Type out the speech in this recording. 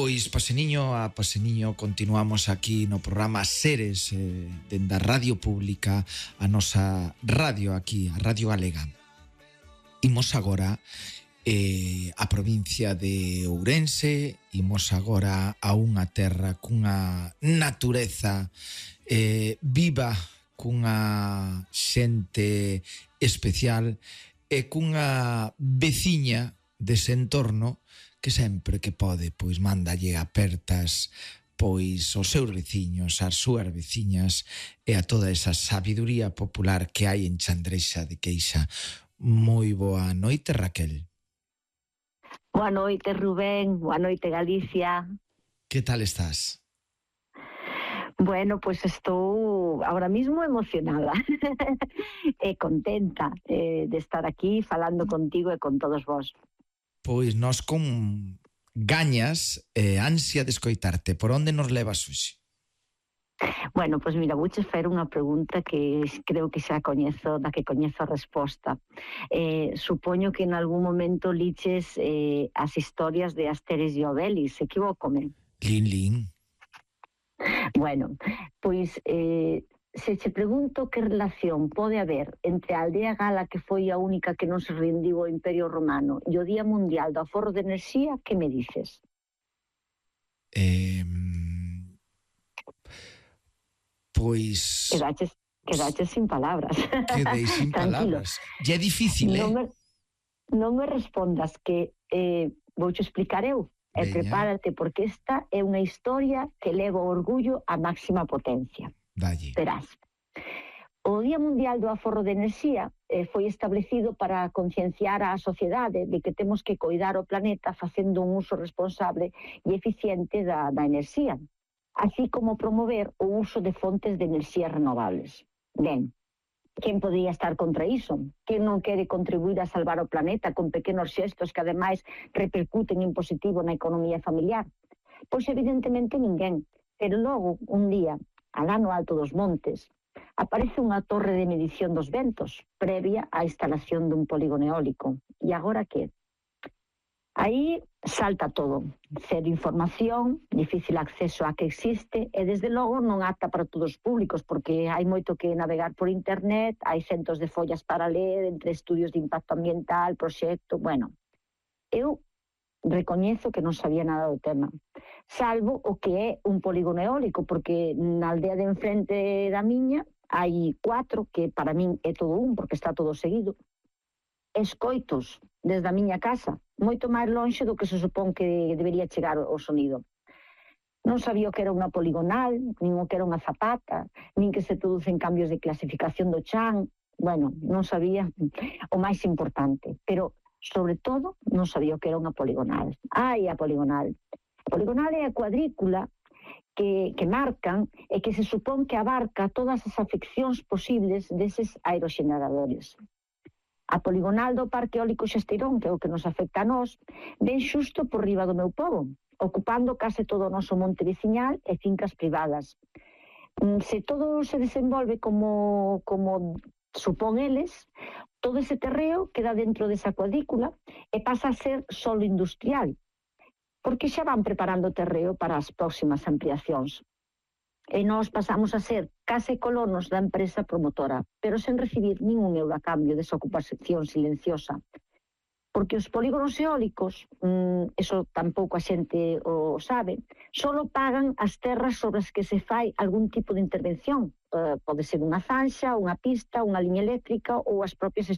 Pois, paseniño a paseniño, continuamos aquí no programa Seres, dende a Radio Pública, a nosa radio aquí, a Radio Galega. Imos agora a provincia de Ourense, imos agora a unha terra cunha natureza viva, cunha xente especial e cunha veciña dese entorno que sempre que pode, pois mándalle apertas pois aos seus veciños, ás súas veciñas e a toda esa sabiduría popular que hai en Chandrexa de Queixa. Moi boa noite, Raquel. Boa noite, Rubén. Boa noite, Galicia. Que tal estás? Bueno, pues estou ahora mismo emocionada e contenta de estar aquí falando contigo e con todos vos. Pois nós con gañas e ansia de escoitarte. Por onde nos levas hoxe? Bueno, pois mira, vouche facer unha pregunta que creo que xa coñezo, da que coñezo a resposta. Supoño que en algún momento liches as historias de Asterix e Obelix, equivócome? Lin. Bueno, pois se che pregunto que relación pode haber entre a aldea gala que foi a única que non se rendiu ao Imperio Romano e o Día Mundial do Aforro de Enerxía, que me dices? Pois... Quedaches sin palabras. Quedei sin palabras. E é difícil, Non me respondas, que vouche explicar eu. E prepárate, porque esta é unha historia que leva o orgullo á máxima potencia. Dalle. Verás. O Día Mundial do Aforro de Enerxía foi establecido para concienciar á sociedade de que temos que coidar o planeta facendo un uso responsable e eficiente da enerxía, así como promover o uso de fontes de enerxías renovables. Ben, quen podría estar contra iso? Quen non quere contribuir a salvar o planeta con pequenos xestos que ademais repercuten en positivo na economía familiar? Pois evidentemente ninguén, pero logo un día, alá no alto dos montes, aparece unha torre de medición dos ventos previa á instalación dun polígono eólico. E agora que? Aí salta todo. Cero información, difícil acceso a que existe e desde logo non apta para todos os públicos, porque hai moito que navegar por internet, hai centos de follas para ler entre estudios de impacto ambiental, proxecto, bueno. Eu recoñezo que non sabía nada do tema, salvo o que é un polígono eólico, porque na aldea de enfrente da miña hai 4, que para min é todo un, porque está todo seguido. Escoitos desde a miña casa, moito máis lonxe do que se supón que debería chegar o sonido. Non sabía o que era unha poligonal, nin o que era unha zapata, nin que se producen cambios de clasificación do chan. Bueno, non sabía o máis importante, pero sobre todo non sabía o que era unha poligonal. A poligonal. A poligonal é a cuadrícula que marcan e que se supón que abarca todas as afeccións posibles deses aeroxeneradores. A poligonal do Parque Eólico Xesteirón, que é o que nos afecta a nós, ven xusto por riba do meu pobo, ocupando case todo o noso monte veciñal e fincas privadas. Se todo se desenvolve como supón eles, todo ese terreo queda dentro desa cuadrícula e pasa a ser solo industrial, porque xa van preparando o terreo para as próximas ampliacións. E nós pasamos a ser case colonos da empresa promotora, pero sen recibir ningún euro a cambio desa ocupación silenciosa. Porque os polígonos eólicos, eso tampouco a xente o sabe, solo pagan as terras sobre as que se fai algún tipo de intervención. Pode ser unha zanxa, unha pista, unha liña eléctrica ou as propias